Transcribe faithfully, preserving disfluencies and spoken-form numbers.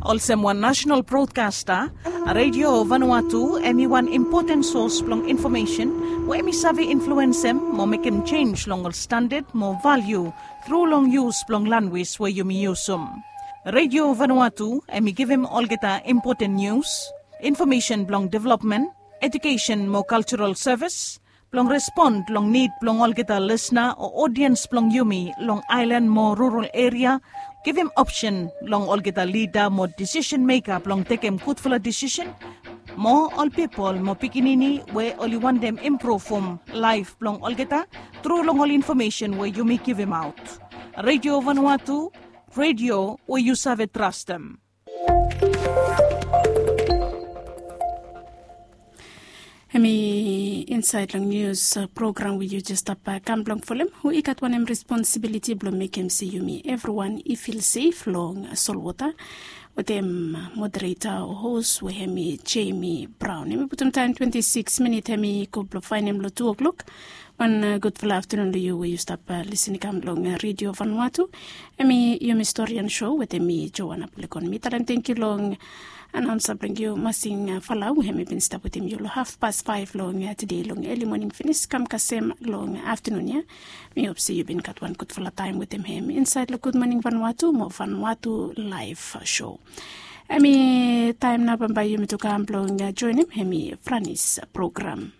Olsem wan nasenal brodkasta, Radio Vanuatu em i wan impoten sos blong infomesen we em i save influensem mo mekem jenj long ol standad mo valiu tru long yus blong lanwis we yumi yusum. Radio Vanuatu em i givim olgeta impoten nius, infomesen blong developmen, ejukesen mo kaljaral sevis, blong respon long nid blong olgeta lisna o odiens blong yumi long aelan mo rural eria, givim opsen long olgeta lida mo disisen meka blong tekem gudfala disisen, mo ol pipol mo pikinini we oli wantem impruvum laef blong olgeta tru long ol infomesen we yumi givimaot. Radio Vanuatu, radio we yu save trastem. Hemi insaed long nius program we yu jes stap kam blong folem, we i gat wanem responsibiliti blong mekem se yumi evriwan i fil sef long solwota, wetem modereta o hos we hemi Jemi Braon. Hemi putum taem twenti sikis minit hemi go blong faenem long tu oklok. Wan gudfala aftanun long yu we yu stap lisin i kam long Radio Vanuatu. Hemi yumi storian so wetem mi Joana Pulekon. Mi talem tangkiu long anaonsa blong yu Masing Falau, hemi bin stap wetem yu long hafpas faef long tede long eli moning finis kam kasem long aftanun ya. Mi hop se yu bin gat wan gudfala taem wetem hem insaed long Gudmoning Vanuatu mo Vanuatu Laef So. Hemi taem nao bambae yumi tu kam blong joenem hemi Franis program.